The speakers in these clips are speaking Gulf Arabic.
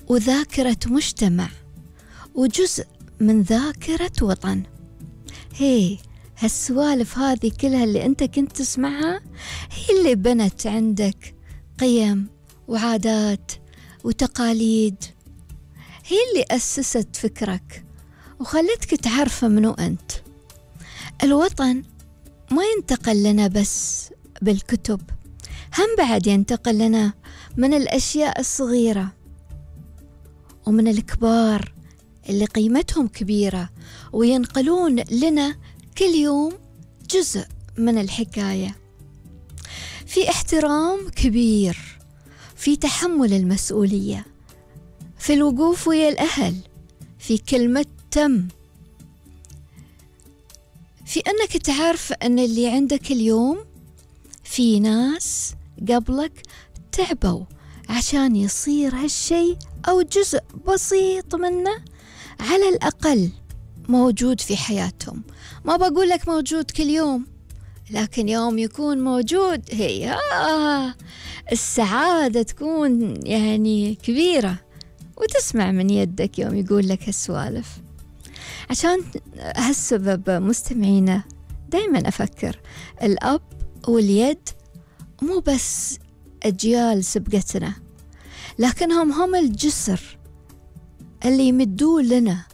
وذاكرة مجتمع وجزء من ذاكرة وطن. هالسوالف هذه كلها اللي أنت كنت تسمعها هي اللي بنت عندك قيم وعادات وتقاليد، هي اللي أسست فكرك وخلتك تعرف منو أنت. الوطن ما ينتقل لنا بس بالكتب، هم بعد ينتقل لنا من الأشياء الصغيرة ومن الكبار اللي قيمتهم كبيرة، وينقلون لنا كل يوم جزء من الحكاية. في احترام كبير، في تحمل المسؤولية، في الوقوف ويا الأهل، في كلمة تم، في أنك تعرف أن اللي عندك اليوم في ناس قبلك تعبوا عشان يصير هالشيء أو جزء بسيط منه على الأقل موجود في حياتهم. ما بقول لك موجود كل يوم، لكن يوم يكون موجود هي السعادة تكون يعني كبيرة، وتسمع من يدك يوم يقول لك هالسوالف. عشان هالسبب مستمعينا دايما أفكر الأب واليد مو بس أجيال سبقتنا، لكنهم هم الجسر اللي يمدوا لنا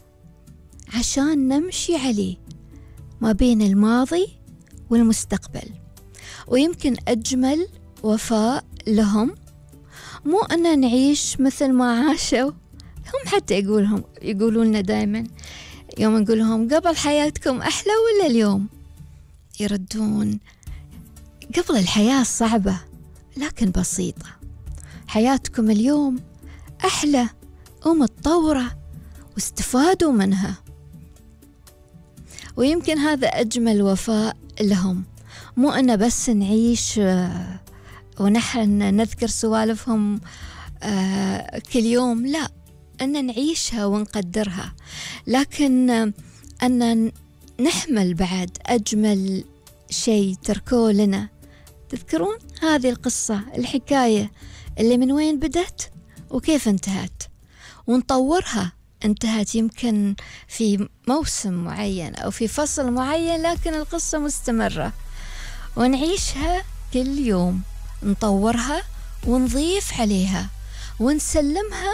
عشان نمشي عليه ما بين الماضي والمستقبل. ويمكن أجمل وفاء لهم مو أن نعيش مثل ما عاشوا هم، حتى يقولون لنا دائما يوم نقول لهم قبل حياتكم أحلى ولا اليوم، يردون قبل الحياة صعبة لكن بسيطة، حياتكم اليوم أحلى ومتطورة واستفادوا منها. ويمكن هذا أجمل وفاء لهم، مو أن بس نعيش ونحن نذكر سوالفهم كل يوم، لا، أن نعيشها ونقدرها، لكن أن نحمل بعد أجمل شيء تركوه لنا. تذكرون هذه القصة الحكاية اللي من وين بدت وكيف انتهت، ونطورها. انتهت يمكن في موسم معين أو في فصل معين، لكن القصة مستمرة ونعيشها كل يوم، نطورها ونضيف عليها ونسلمها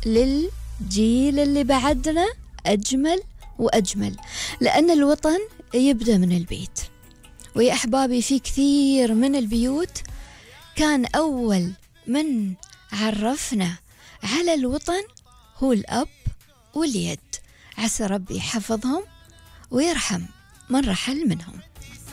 للجيل اللي بعدنا أجمل وأجمل، لأن الوطن يبدأ من البيت. ويا أحبابي في كثير من البيوت كان أول من عرفنا على الوطن هو الأب واليد، عسى ربي يحفظهم ويرحم من رحل منهم.